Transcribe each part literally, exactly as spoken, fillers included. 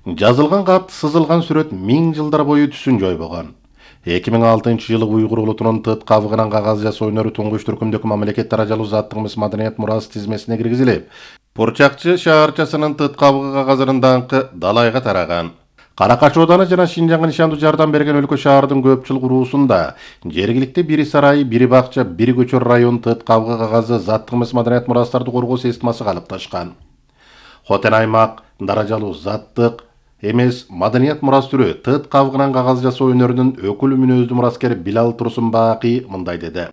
Жазылган кат, сызылган сүрөт миң жылдар бою түсүн жойбогон. эки миң алтынчы жылы Уйгур улутунун тыт кабыгынан кагаз жасоо өнөрү туңгуч түркүмдөгү мамлекет даражалуу заттык эмес маданият мурасы тизмесине киргизилип, Пурчакчы шаарчасынын тыт кабыгы кагазынын даңкы далайга тараган. Каракаш ооданы жана Шинжаңга нишандуу жардам берген өлкө шаардын көпчүлүк уруусунда жергиликти бири сарай, бири бакча, бири көчөр район тыт кабыгы кагазы заттык эмес маданият мурастарды коргоо системасы калыпташкан. Хотен аймак даражалуу заттык эмес маданият мурас түрү тыт кабыгынан кагаз жасоо өнөрүнүн өкүлү мүнөздүү мураскер Билал Турсунбаакый мындай деди.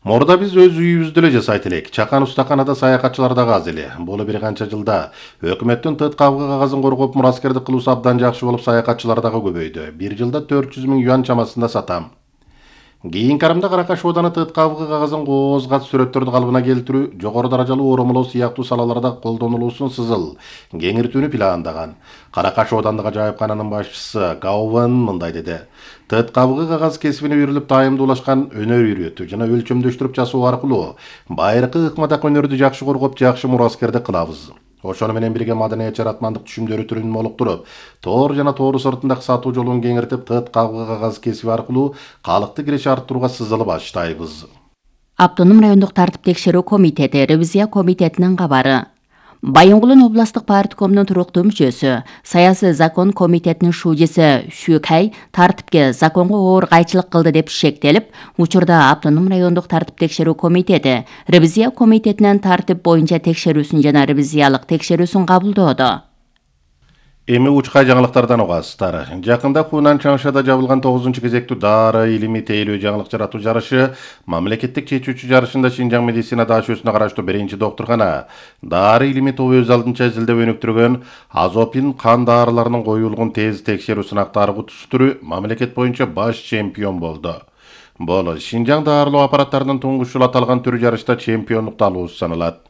Мурда биз өз үйүбүздө эле жасайт элек. Чакан устаканада саякатчылар дагы аз эле. Бул бир канча жылда өкмөттүн тыт кабыгы кагазын коргоп мураскердик кылуусу абдан жакшы болуп, саякатчылар дагы көбөйдү. Бир жылда төрт жүз миң юан чамасында сатам. Кийинки арамда Каракаш ооданы тыт кабыгы кагазын кооз-кат сүрөттөрдү калыбына келтирүү, жогору даражалуу оромолоо сыяктуу салаларда колдонулуусун сызыл, кеңиртүүнү пландаган. Каракаш оодандык ажайыпкананын башчысы Гауван мындай деди. Тыт кабыгы кагаз кесибине үйрүлүп тайымдуулашкан өнөр үйрөтүү жана өлчөмдөштүрүп жасоо аркылуу байыркы ыкмадак өнөрдү жакшы коргоп, жакшы мураскердик кылабыз. Ошону менен бирге маданият жаратмандык түшүмдөрү түрүн молуктуруп, тоор жана тоору сыртындагы сатуу жолун кеңиртип, тыт кабыгы кагаз кесиби аркылуу калыкты киреше арттырууга сызылып баштайбыз. Автоном райондук тартип текшерүү комитети, ревизия комитетинин кабары. Байонгулун областык парткомунун туруктуу мүчөсү, саясий закон комитетинин шужиси Шүкай тартипке законго оор кайчылык кылды деп шектелип, учурда автоном райондук тартип текшерүү комитети ревизия комитетинин тартип боюнча текшерүүсүн жана ревизиялык текшерүүсүн кабылдоодо. Эми учкай жаңылыктардан угасыздар. Жакында Хунан Чаңшада жабылган тогузунчу кезектүү дары илимий тейлөө жаңылык жаратуу жарышы мамлекеттик чечүүчү жарышында Шинжаң медицина даашөсүнө караштуу биринчи доктуркана дары илимий тобу өз алдынча изилдеп өнүктүргөн азопин кан дарыларынын коюлгун тез текшерүү сынактары кутусу түрү мамлекет боюнча баш чемпион болду. Бул Шинжаң дарылоо аппараттарынын туңгуч жолу аталган түрү жарышта чемпиондукту алуусу саналат.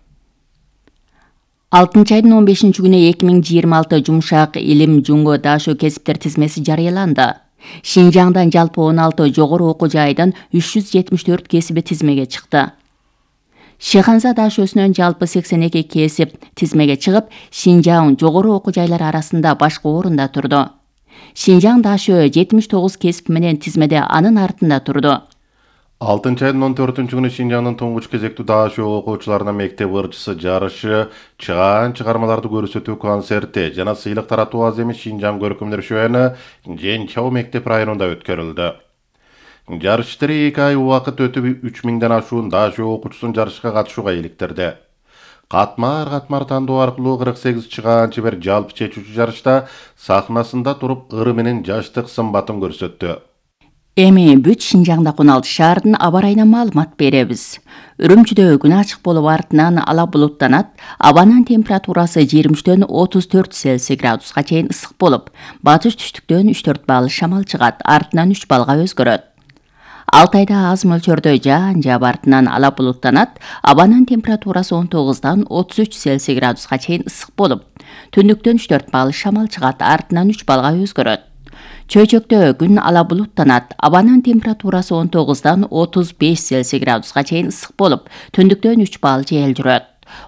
алтынчы айдын он бешинчи күнү эки миң жыйырма алты жумшак илим жунго даашоо кесиптер тизмеси жарыяланды. Шинжаңдан жалпы он алты жогору окуу жайдан үч жүз жетимиш төрт кесиби тизмеге чыкты. Шеханза даашөсүнөн жалпы сексен эки кесип тизмеге чыгып, Шинжаң жогору окуу жайлар арасында башкы орунда турду. Шинжаң даашөө жетимиш тогуз кесип менен тизмеде анын артында турду. алтынчы айдын он төртүнчү күнү Шинжаңдын туңгуч кезектүү даашоо окуучуларына мектеп ырчысы жарышы, чыгаан чыгармаларды көрсөтүү концерти жана сыйлык таратуу аз эмес Шинжаң көркөмдөр шоуну Женчау мектеп районунда өткөрүлдү. Жарыш иштери эки ай убакыт өтүп, үч миңден ашуун даашоо окуучусун жарышка катышууга иликтирди. Катмар-катмар тандоо аркылуу кырк сегиз чыгаан чебер жалпы чечүүчү жарышта сахнасында туруп ыры менен жаштык сымбатын көрсөттү. Эми бүт Шинжаңда Куналды шаардын аба ырайынан маалымат беребиз. Үрүмчүдө күн ачык болуп артынан ала булуттанат, абанын температурасы жыйырма үчтөн отуз төрт Цельсий градуска чейин ысык болуп, батыш түштүктөн үч төрт балл шамал чыгат, артынан үч баллга өзгөрөт. Алтайда аз мөлчөрдө жаан жаап артынан ала булуттанат, абанын температурасы он тогуздан отуз үч Цельсий градуска чейин ысык болуп, түндүктөн үч төрт балл шамал чыгат, артынан үч баллга өзгөрөт. Чөйчөктө күн ала булуттанат, абанын температурасы он тогуздан отуз беш Цельсий градуска чейин ысык болуп, түндүктөн үч балл жел жүрөт.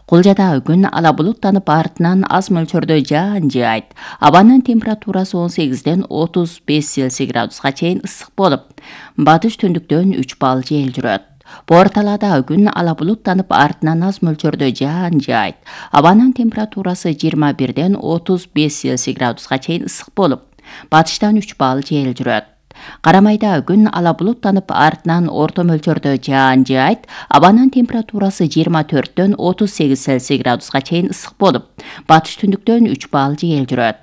Кулжада күн ала булуттанып, артынан аз мөлчөрдө жаан жаайт. Абанын температурасы он сегизден отуз беш Цельсий градуска чейин ысык болуп, батыш түндүктөн үч балл жел жүрөт. Борталада күн ала булуттанып, артынан аз мөлчөрдө жаан жаайт. Абанын температурасы жыйырма бирден отуз беш Цельсий градуска чейин ысык болуп, батыштан үч балл жел жүрөт. Карамайда күн ала булуттанып, артынан орто мөлчөрдө жаан жаайт. Абанын температурасы жыйырма төрттөн отуз сегиз Цельсий градуска чейин ысык болуп, батыш түндүктөн үч балл жел жүрөт.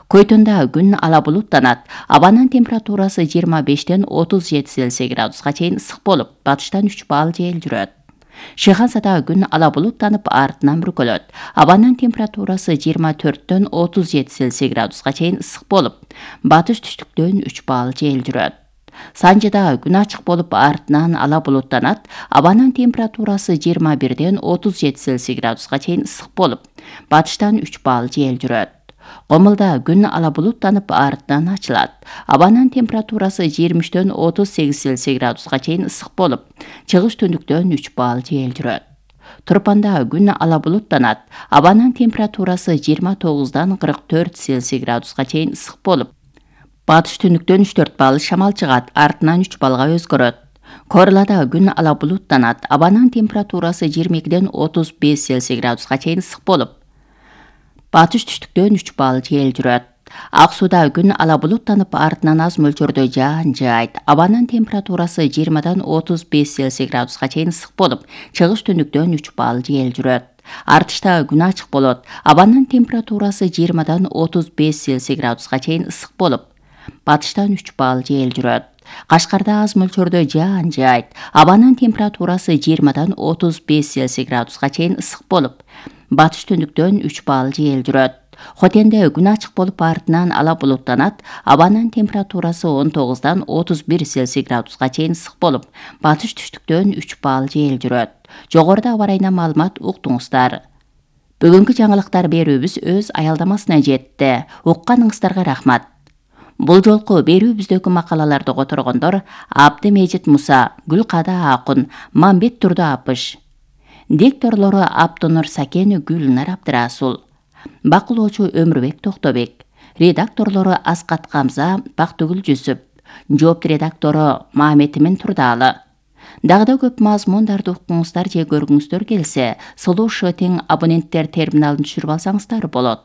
Көйтөндө күн ала булуттанат, абанын температурасы жыйырма бештен отуз жети Цельсий градуска чейин ысык болуп, батыштан үч балл жел жүрөт. Шехансада күн ала булуттанып, артынан бүркөлөт. Абанын температурасы жыйырма төрттөн отуз жети Цельсий градуска чейин ысык болуп, батыш түштүктөн үч балл жел жүрөт. Санжыда күн ачык болуп, артынан ала булуттанат, абанын температурасы жыйырма бирден отуз жети Цельсий градуска чейин ысык болуп, батыштан үч балл жел жүрөт. Комулда күн ала булуттанып, артынан ачылат. Абанын температурасы жыйырма үчтөн отуз сегиз Цельсий градуска чейин ысык болуп, чыгыш түндүктөн үч балл жел жүрөт. Турпанда күн ала булуттанат. Абанын температурасы жыйырма тогуздан кырк төрт Цельсий градуска чейин ысык болуп, батыш түнүктөн үч төрт балл шамал чыгат, артынан үч баллга өзгөрөт. Корлада күн ала булуттанат. Абанын температурасы жыйырма экиден отуз беш Цельсий градуска чейин ысык болуп, батыш түштүктөн үч балл жел жүрөт. Ак сууда күн ала булуттанып, артынан аз мөлчөрдө жаан жаайт. Абанын температурасы жыйырмадан отуз беш Цельсий градуска чейин ысык болуп, чыгыш түнүктөн үч балл жел жүрөт. Артышта күн ачык болот. Абанын температурасы жыйырмадан отуз беш Цельсий градуска чейин ысык болуп, батыштан үч балл жел жүрөт. Кашкарда аз мөлчөрдө жаан жаайт. Абанын температурасы жыйырмадан отуз беш Цельсий градуска чейин ысык болуп, батыш түнүктөн үч балл жел жүрөт. Хотенде күн ачык болуп, артынан ала булуттанат. Абанын температурасы он тогуздан отуз бир Цельсий градуска чейин ысык болуп, батыш түштүктөн үч балл жел жүрөт. Жогоруда аба ырайына маалымат уктуңуздар. Бүгүнкү жаңылыктар берүүбүз өз аялдамасына жетти. Укканыңыздарга рахмат. Бул жолку берүүбүздөгү макалаларды которгондор Абдымежит Муса, Гүлкада Акун, Мамбет Турду Апыш. Дикторлору Аптонур Сакен, Гүлнар Абдырасул. Бакылоочу Өмүрбек Токтобек. Редакторлору Аскат Камза, Бактыгүл Жүсүп. Жоопту редактору Маметимин Турдалы. Дагы да көп мазмундарды уккуңуздар же көргүңүздөр келсе, Слушай тең абоненттер терминалын түшүрүп алсаңыздар болот.